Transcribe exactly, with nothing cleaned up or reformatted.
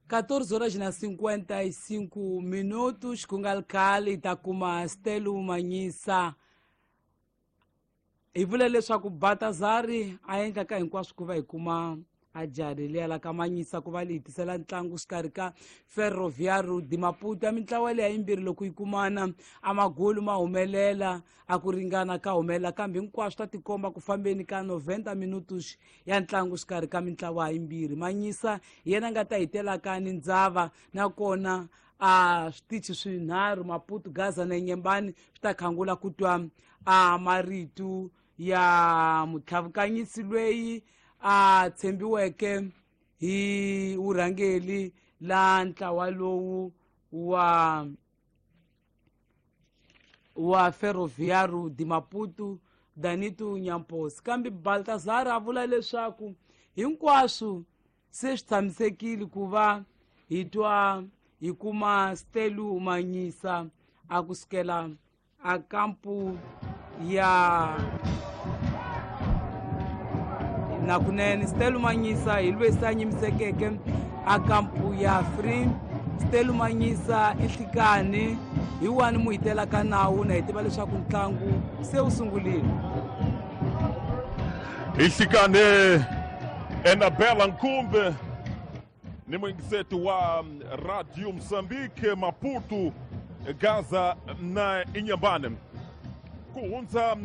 catorze horas na cinquenta e cinco minutos. Ku nga ri khale hi ta kuma Stelu Manyisa. Hi vula leswaku Baltazari a endla ka hinkwaswo ku va hi kuma a jari liya la ka Manyisa ku va li hi tisela ntlangu xikarhi ka Ferroviário de Maputo. Ya mintlawa leya yimbirhi loko yi kumana, a magolu ma humelela, a ku ringana ka humelela, kambe hinkwaswo ta tikomba ku fambeni ka noventa minutos ya ntlangu xikarhi ka mintlawa yimbirhi. Manyisa hi yena nga ta hitelaka ni ndzava, nakona a switichi swinharhu, Maputo, Gaza na Nyembani, swi ta khangula ku twa a marito ya mutlhavukanyisi loyi a tshembiweke hi vurhangeli la ntlawa lowu wa wa Ferroviário de Maputo, Danito Nyampos. Kambe Baltazar a vula leswaku hinkwaswo se swi tshamisekile ku va hi twa hi kuma Stelu Manyisa a kusukela a kampu ya nakunene. Stelu Manyisa hi lweyi se a nyimisekeke a kampu ya Free. Stelu Manyisa i nhlikani hi wani mu hitelaka nawu na hi tiva leswaku ntlangu se wu sungurile. Hi nhlikani, Enabela Nkumbe ni muyingiseti wa Radio Mozambique, Maputo, Gaza na Inyambane ku hundza.